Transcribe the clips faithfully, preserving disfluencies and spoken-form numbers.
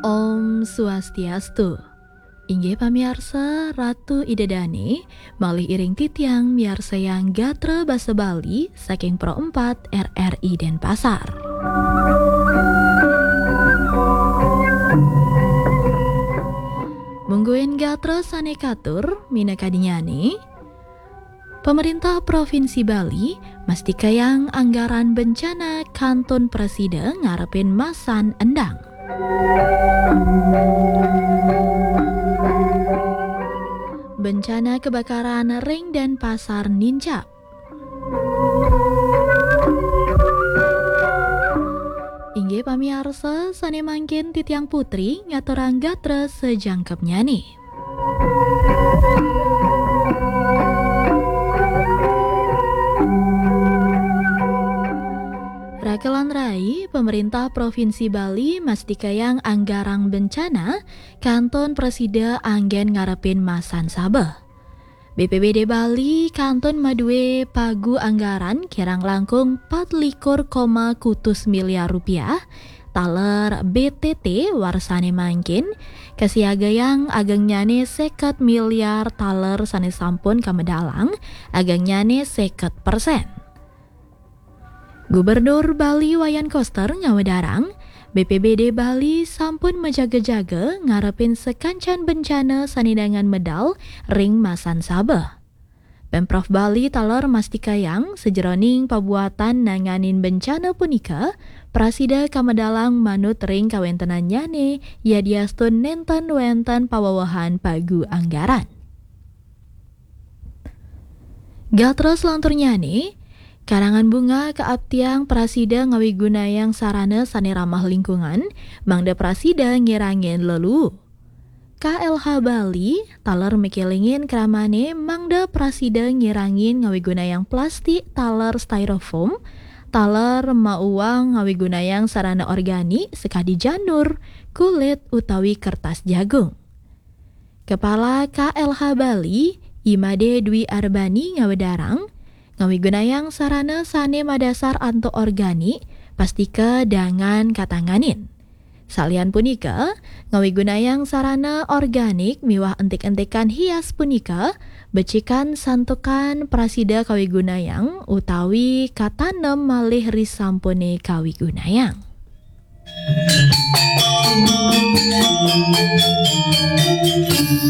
Om Swastiastu. Inggih pamiarsa, Ratu Ida Dane, malih iring titiang miarsayang gatra basa Bali saking Pro empat R R I Denpasar. Mungguing gatra sane katur minakadinyane, Pemerintah Provinsi Bali mastikayang anggaran bencana kantun prasida ngarepin masan endang. Bencana kebakaran ring Denpasar nincap. Inggih pamiarsa, sane mangkin titiang Putri ngaturang gatra sajangkepnyane. Rakelan rai, pemerintah Provinsi Bali mastikayang anggarang bencana kantun prasida anggen ngarepin masan sabeh. B P B D Bali kantun madue pagu anggaran kirang langkung patlikur koma kutus miliar rupiah, taler B T T warsane mangkin, kasiagayang agengnyane seket miliar taler sane sampun kamedalang, agengnyane seket persen. Gubernur Bali Wayan Koster ngawedarang, B P B D Bali sampun majaga-jaga ngarepin sakancan bencana sane dangan medal ring masan sabeh. Pemprov Bali taler mastikayang sajeroning pabuatan nanganin bencana punika, prasida kamedalang manut ring kawentenannyane yadiastun nenten wenten pawewehan pagu anggaran. Gatra selanturnyane, karangan bunga kaaptiang prasida ngawigunayang sarana sane ramah lingkungan, mangda prasida ngirangin leluu. K L H Bali taler makelingin kramane mangda prasida ngirangin ngawigunayang plastik taler styrofoam, taler mauang ngawigunayang sarana organik sakadi janur, kulit, utawi kertas jagung. Kepala K L H Bali, I Made Dwi Arbani ngawedarang, ngawigunayang sarana sane madasar antuk organik, pastika dangan katanganin. Salian punika, ngawigunayang sarana organik miwah entik-entikan hias punika, becikan santukan prasida kawigunayang utawi katanem malih risampune kawigunayang.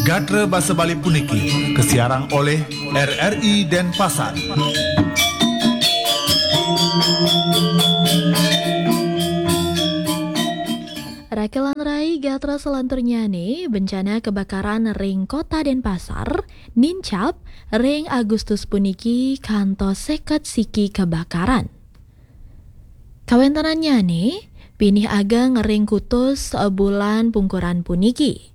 Gatra basa Bali puniki kasiarang oleh R R I Denpasar. Rakelan rai, gatra selanturnyane, bencana kebakaran ring Kota Denpasar nincap ring Agustus puniki kantos seket siki kebakaran. Kawentenannyane pinih ageng ring kutus bulan pungkuran puniki.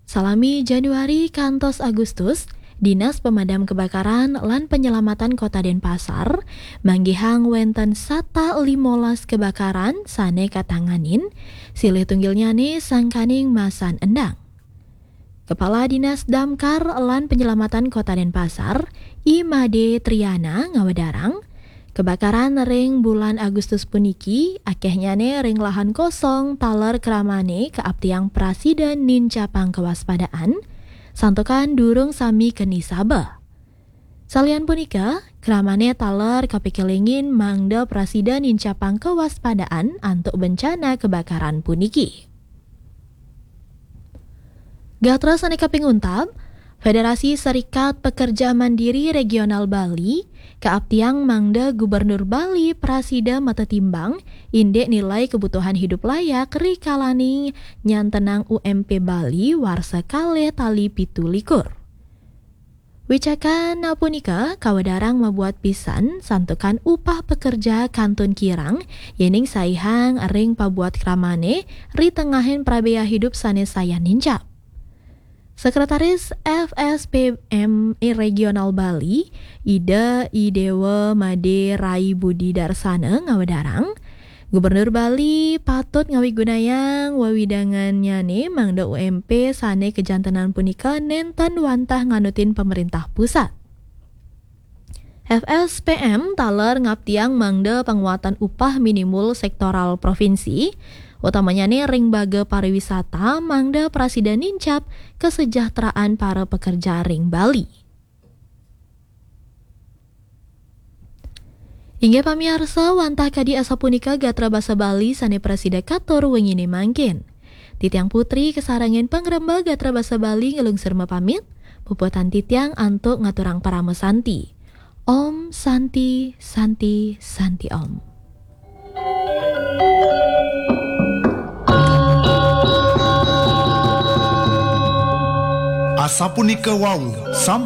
Salami Januari kantos Agustus, Dinas Pemadam Kebakaran lan Penyelamatan Kota Denpasar manggihang wenten satak limolas kebakaran sane katanganin, silih tunggilnyane sangkaning masan endang. Kepala Dinas Damkar lan Penyelamatan Kota Denpasar, I Made Triana ngawedarang, kebakaran ring bulan Agustus puniki akehnyane ring lahan kosong taler kramane kaaptiang prasida nincapang kewaspadaan, santukan durung sami keni sabeh. Salian punika, kramane taler kapikelingin mangda prasida nincapang kewaspadaan antuk bencana kebakaran puniki. Gatra sane kaping untat, Federasi Serikat Pekerja Mandiri Regional Bali kaaptiang mangda Gubernur Bali prasida matetimbang indik nilai kebutuhan hidup layak rikalaning nyantenang U M P Bali warsa kalih tali pitu likur. Wicakan punika kawedarang mabuat pisan santukan upah pekerja kantun kirang, yening saihang ring pabuat kramane ritengahin prabea hidup sane sayan nincap. Sekretaris F S P M Regional Bali, Ida I Dewa Made Rai Budi Darsana ngawedarang, Gubernur Bali patut ngawigunayang wewidangannyane mangda U M P sane kajantenan punika nenten wantah nganutin pemerintah pusat. F S P M taler ngaptiang mangda panguatan upah minimul sektoral provinsi Utamanya nih ring baga pariwisata mangda prasida nincap kesejahteraan para pekerja ring Bali. Inggih pamiarsa, wantah kadi asapunika gatra basa Bali sane prasida katur wengine mangkin. Titiang Putri kasarangan pangremba gatra basa Bali ngelungsur mapamit, puputang titiang antuk ngaturang parama santi. Om Santi, Santi, Santi Om. Asapunika wau, sampun